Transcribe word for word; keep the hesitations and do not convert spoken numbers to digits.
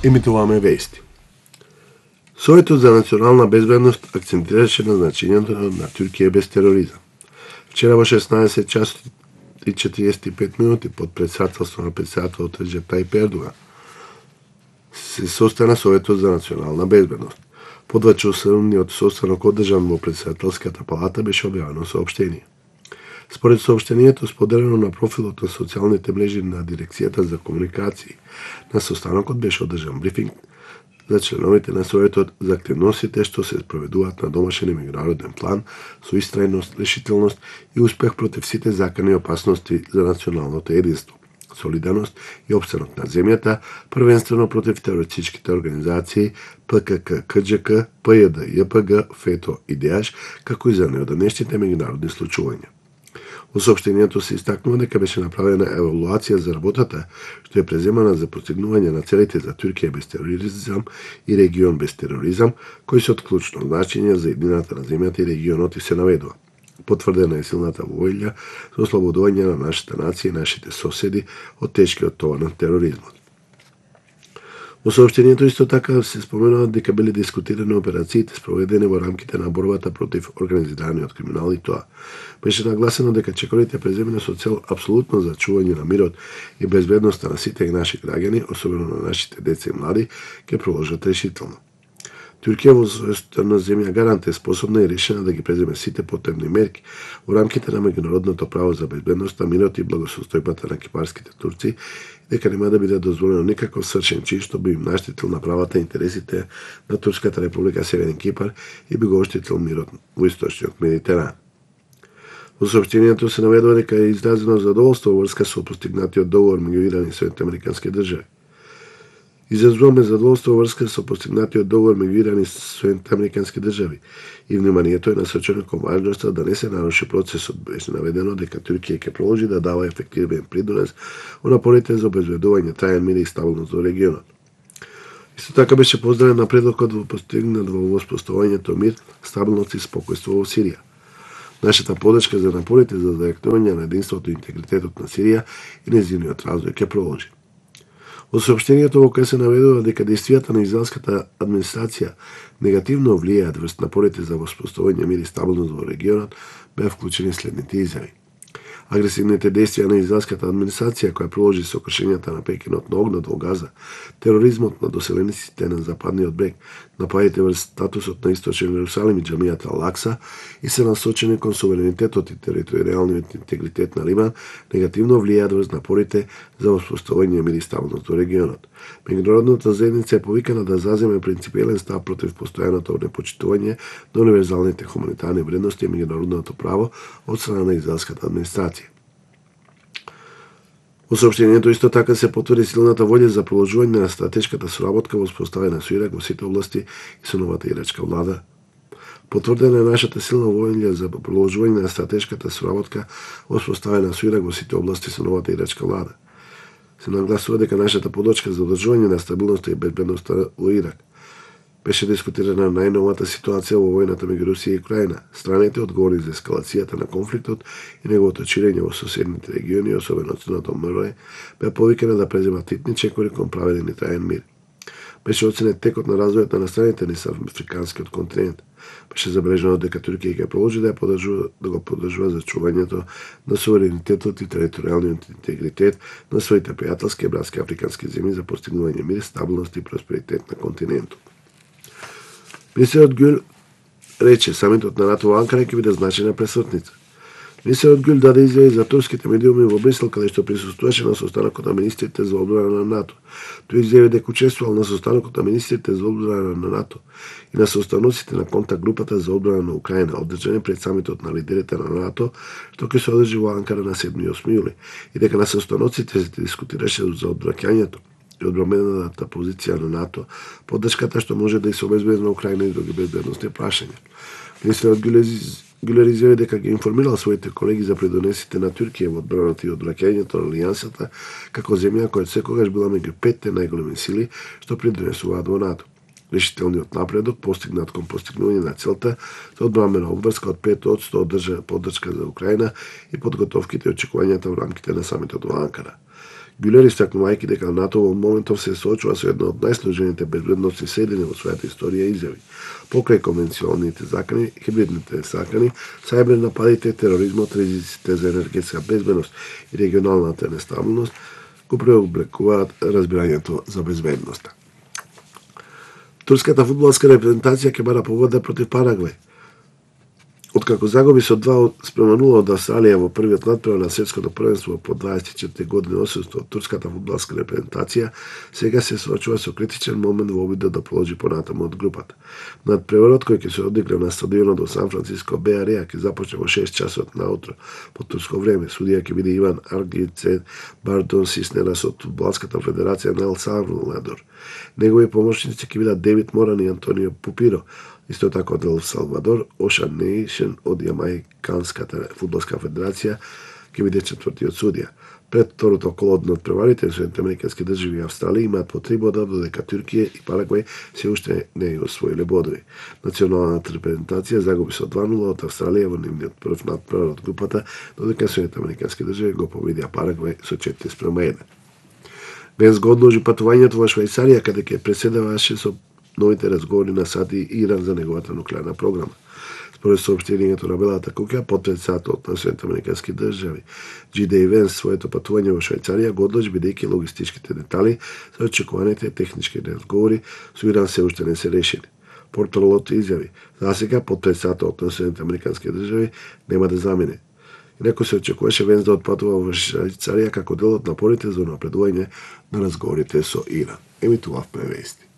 Емитуваме вести. Советот за национална безбедност акцентираше на значењето на Туркија без тероризам. Вчера во шеснаесет часот и четириесет и пет минути под председателство на председателот Реджеп Тајип Ердоган се состана Советот за национална безбедност. Подвачасовниот состанок одржан во председателската палата беше објавено соопштение. Според соопштението споделено на профилот на социјалните мрежи на Дирекцијата за комуникации, на состанокот беше одржан брифинг за членовите на Советот за активностите што се спроведуваат на домашен и меѓународен план со истрајност, решителност и успех против сите закани опасности за националното единство, солидарност и опстанок на земјата, првенствено против терористичките организации П К К К Џ К, П Ј Д Ј П Г, ФЕТО и ДЕАШ, како и за неодамнешните меѓународни случувања. Во соопштението се истакнува дека беше направена евалуација за работата што е преземана за постигнување на целите за Туркија без тероризам и регион без тероризам, кои се од клучно значење за едината на земјата и регионот и се наведува. Потврдена е силната воља за ослободување на нашата нација и нашите соседи од тешкиот товар на тероризмот. Во соопштението исто така се споменува дека биле дискутирани операциите спроведени во рамките на борбата против организираниот криминал и тоа. Беше нагласено дека чекорите преземени со цел апсолутно зачување на мирот и безбедноста на сите наши граѓани, особено на нашите деца и млади, ќе продолжат решително. Туркија во својството на земја гарант е способна и решена да ги преземе сите потребни мерки во рамките на меѓународното право за безбедноста, мирот и благосостојбата на кипарските турци, дека нема да биде дозволено никаков свршен чин што би им наштетил на правата и интересите на Турската република Северен Кипар и би го оштетил мирот во источниот Медитеран. Во соопштението се наведува дека е изразено задоволство во врска со постигнатиот договор меѓу Иран и Соединетите американски држави. Изразуваме задоволство во врска со постигнатиот договор меѓу Иран и Соединетите американски држави и вниманието е насочено кон важноста да не се наруши процесот. Беше наведено дека Туркија ќе продолжи да дава ефективен придонес во напорите за обезбедување траен мир и стабилност во регионот. Исто така беше поздравен напредокот во постигнат во воспоставувањето мир, стабилност и спокојство во Сирија. Нашата подршка за напорите за зајакнување на единството и интегритетот на Сирија и нејзиниот развој ќе продолжи. Во соопштението во кое се наведува дека действијата на израелската администрација негативно влијаат врз напорите за воспоставување мир и стабилност во регионот, беа вклучени следните изјави. Агресивните действија на израелската администрација која продолжи со кршењата на прекинот на огнот во Газа, тероризмот на доселениците на западниот брег, нападите врз статусот на Источен Ерусалим и џамијата Ал-Акса и се насочени кон суверенитетот и територијалниот интегритет на Либан, негативно влијаат врз напорите за воспоставување мир и стабилност во регионот. Меѓународната заедница е повикана да заземе принципиелен став против постојаното непочитување на универзалните хуманитарни вредности и меѓународното право од страна на израелската администрација. Во соопштението исто така се потврди силната волја за продолжување на стратешката соработка воспоставена со Ирак во сите области и со новата ирачка влада. Потврдена е нашата силна волја за продолжување на стратешката соработка воспоставена со Ирак во сите области со новата ирачка влада. Се нагласува дека нашата подршка за одржување на стабилноста и безбедноста во Ирак. Беше дискутирана најновата ситуација во војната меѓу Русија и Украина. Страните одговорни за ескалацијата на конфликтот и неговото ширење во соседните региони, особено Црното море, беа повикани да преземат титни чекори кон праведен и траен мир. Беше оценет текот на развојот на страните низ африканскиот континент. Беше забележано дека Туркија ќе продолжи да ја поддржува да го поддржува зачувањето на суверенитетот и територијалниот интегритет на своите пријателски и братски африкански земји за постигнување мир, стабилност и просперитет на континентот. Министерот Гюл рече самитот на НАТО во Анкара ќе биде значајна пресвртница. Министерот Гюл даде изјави за турските медиуми во Брисел, каде што присуствуваше на состанокот на министрите за одбрана на НАТО. Тој изјави дека учествувал на состанокот на министрите за одбрана на НАТО и на состаноците на контакт групата за одбрана на Украина, одржани пред самитот на лидерите на НАТО, што ќе се одржи во Анкара на седми и осми јули, и дека на состаноците се дискутираше за одбраќањето и одбранената позиција на НАТО, поддршката што може да се обезбеди на Украина и други безбедносни прашања. Министерот Гюлер изјави дека ги информирал своите колеги за придонесите на Туркија во одбраната и одбраќањето на алијансата како земја која секогаш била меѓу петте најголеми сили што придонесуваат во НАТО. Решителниот напредок постигнат кон постигнување на целта за одбранбена обврска од пет од сто поддршка за Украина и подготовките и очекувањата во рамките на самитот во Анкара. Гюлер истакнувајќи дека НАТО во моментов се соочува со една од најсложените безбедносни седини во својата историја изјави. Покрај конвенционалните закани, хибридните закани, сајбер нападите, тероризмот, ризиците за енергетска безбедност и регионалната нестабилност го преобликуваат разбирањето за безбедноста. Турската фудбалска репрезентација ќе бара победа против Парагвај. Откако загуби со два спрема нула од Австралија во првиот натпревар на светското првенство по дваесет и четири години одсуство, турската фудбалска репрезентација сега се соочува со критичен момент во обидот да проложи понатаму од групата. Натпреварот кој ќе се одигра на стадионот во Сан Франциско Беј Ареа ќе започне во шест часот наутро по турско време. Судија ќе биде Иван Аргице Бартон Сиснера со фудбалската федерација на Ел Салвадор. Негови помошници ќе бидат Девид Моран и Антонио Пупиро. Исто така од Ел Салвадор, Ошан Нейшен од Јамајканската фудбалска федерација ќе биде четвртиот судија. Пред второто коло од надпреварите, Соединените американски држави и Австралија имаат по три бода, додека Туркија и Парагвај се уште не ја освоиле бодови. Националната репрезентација загуби со два нула од Австралија во нивниот прв надпревар од групата, додека Соединените американски држави го победија Парагвај со четири спрема еден. Венс го одложи патувањето во Швајцарија, каде ќе преседаваше со новите разговори на САД и Иран за неговата нуклеарна програма. Според соопштението на Белата куќа, потпредседателот на Соединените американски држави Џи Деј Венс своето патување во Швајцарија го одложи бидејќи логистичките детали за очекуваните технички разговори со Иран се уште не се решени. Порталот изјави: за сега потпредседателот на Соединените американски држави нема да замине. Инаку се очекуваше Венс да отпатува во Швајцарија како дел од напорите за напредување на разговорите со Иран. Емитувавме вести.